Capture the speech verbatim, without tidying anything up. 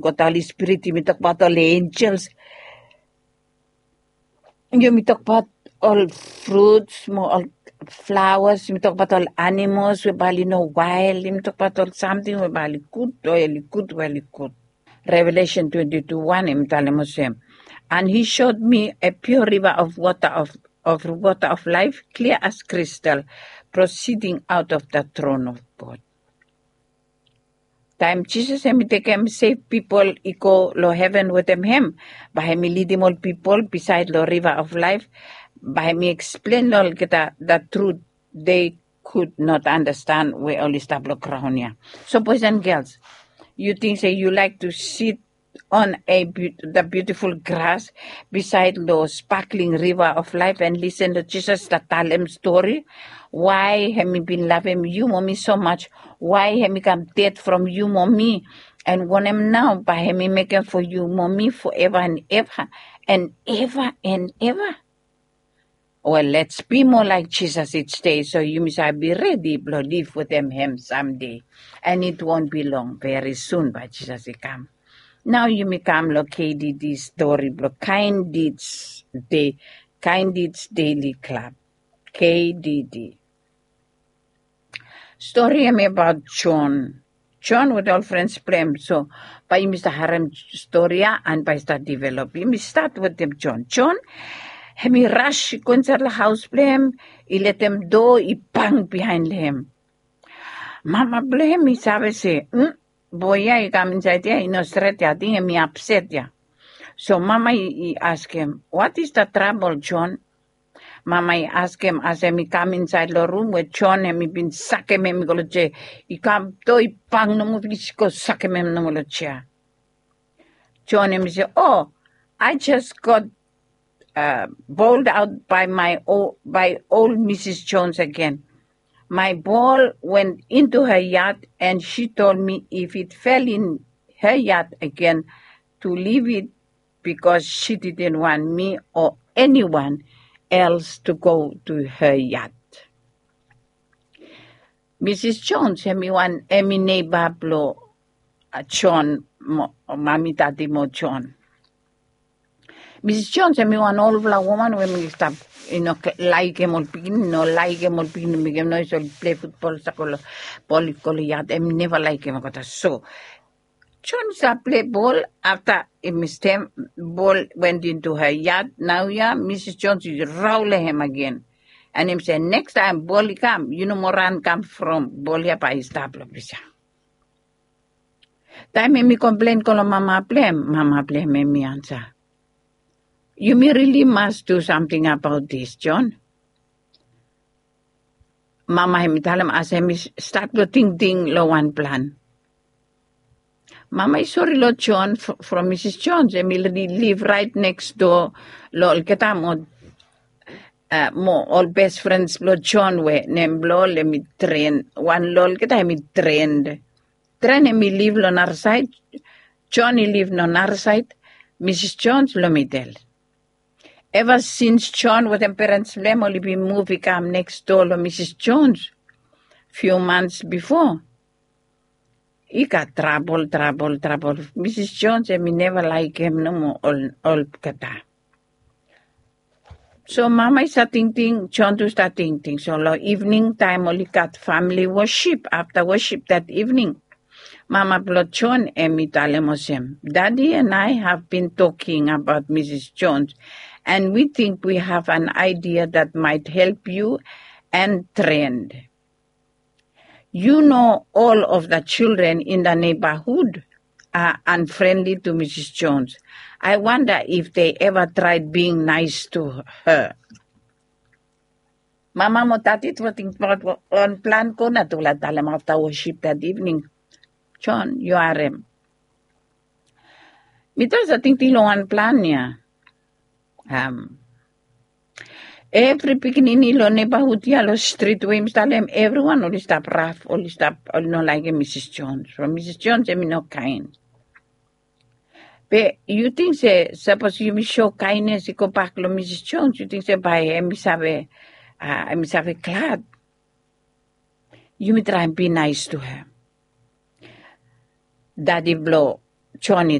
Got ol spirit, yumi tokbaot ol angels. Yumi tokbaot ol fruits mo ol flowers, yumi tokbaot ol animals we bae oli no wael, yumi tokbaot ol samting we bae oli gud o oli gud we oli gud. Revelation twenty-two one, yumi talem olsem, and he showed me a pure river of water of, of water of life, clear as crystal, proceeding out of the throne of God. Taem Jisas hemi tekem sef pipol i go long heven wetem hem, bae hemi lidim ol pipol bisaed long river of laef, bae hemi eksplen long olgeta the truth they could not understand we oli stap long graon ya. So boys and girls, yu ting se yu laek tu sit on a beau- the beautiful grass bisaed long sparkling river of laef and lisen long Jisas stap talem stori, wae hemi bin lavem yu mo mi so much, wae hemi kam ded from yu mo mi, and wanem nao bae hemi mekem fo yu mo mi foeva and eva and eva and eva. Wel, lets bi moa laek Jisas each day, so yumi save bi redi blong liv wetem hem samde. And it won't be long, veri sun bae Jisas i kam. Nao yumi kam long K D D stori blong Kindness Day, Kindness Daily Club, K D D. Stori hemi abaot Jon. Jon wetem ol frens blong hem. So bae yumi stap harem stori ya and bae i stap develop. Yumi stat wetem Jon. Jon hemi ras i go insaed long haos blong hem, i letem doa i bang biaen long hem. Mama blong hem i save se, "Mm, boe ya i kam insaed ya i no stret ya, ating hemi apset ya." So mama i, i askem, "What is the trouble, Jon?" Mama i askem as hemi kam insaed long rum we Jon hemi bin sakem hem i go long jea. I kam doa i bang nomo, i go sakem hem nomo long jea. Jon hemi se, "Oh, I just got uh, bowled out by my o- by old Missus Jones again. My ball went into her yard, and she told me if it fell in her yard again, to leave it because she didn't want me or anyone else to go to her yard." Missus Jones hemi wan, hemi neiba blong, uh, Jon mo, mami, dadi mo Jon. Missus Jones hemi wan olfala woman we hemi stap, i no laekem ol pikinini, no laekem ol pikinini, mekem noes, oli plei futbol, sakem ol bol i go long yad, hemi neva laekem olgeta. So Jon i stap plei bol, afta hemi stem, ball went into her yard. Naoia Missus Jones i raol long hem agen. And hemi se, "Nekstaem bol i kam, yu no moa ran kam from bol ya, bae i stap long ples ya." Taem hemi komplen go long mama blong hem, mama blong hem hemi ansa, "Yumi rili mas du samting abaot dis, Jon." Mama hemi talem as hemi stat blong tingting long wan plan. Mama i sori long Jon from Missus Jones, hemi liv raet neks doa long olgeta mo, uh, mo ol bes frens blong Jon we nem blong ol hemi Tren. Wan long olgeta hemi Tren. Tren hemi liv long narasaed, Jon i liv long narasaed, Missus Jones long midel. Eva sins Jon wetem perens blong hem oli bin muv i kam neks doa long Missus Jones fiu mans bifo, i gat trabol, trabol, trabol. Missus Jones hemi neva laekem nomo ol, olgeta. So mama i stat tingting, Jon tu stat tingting. So long ivning taem oli gat famili wosip, afta wosip dat ivning, mama blong Jon hemi talem olsem, "Daddy and I have been talking about Missus Jones, and we think we have an idea that might help you and Trent. You know all of the children in the neighborhood are unfriendly to Missus Jones. I wonder if they ever tried being nice to her." Mama mo dadi tufala tingbaot wan plan go nao tufala talem afta wosip dat ivning. Jon, yu harem. Mi tu save tingting long wan plan ya. Evri pikinini long neibahud ya long strit we yumi talem evriwan oli stap raf, oli stap, oli no laekem Misis Jones. From Misis Jones hemi no kaen. Be yu ting se sapos yumi so kaenes i gobak long Misis Jones, yu ting se bae hemi save, a, hemi save glad? Yumi traem bi naes tu hem. Dadi blong Joni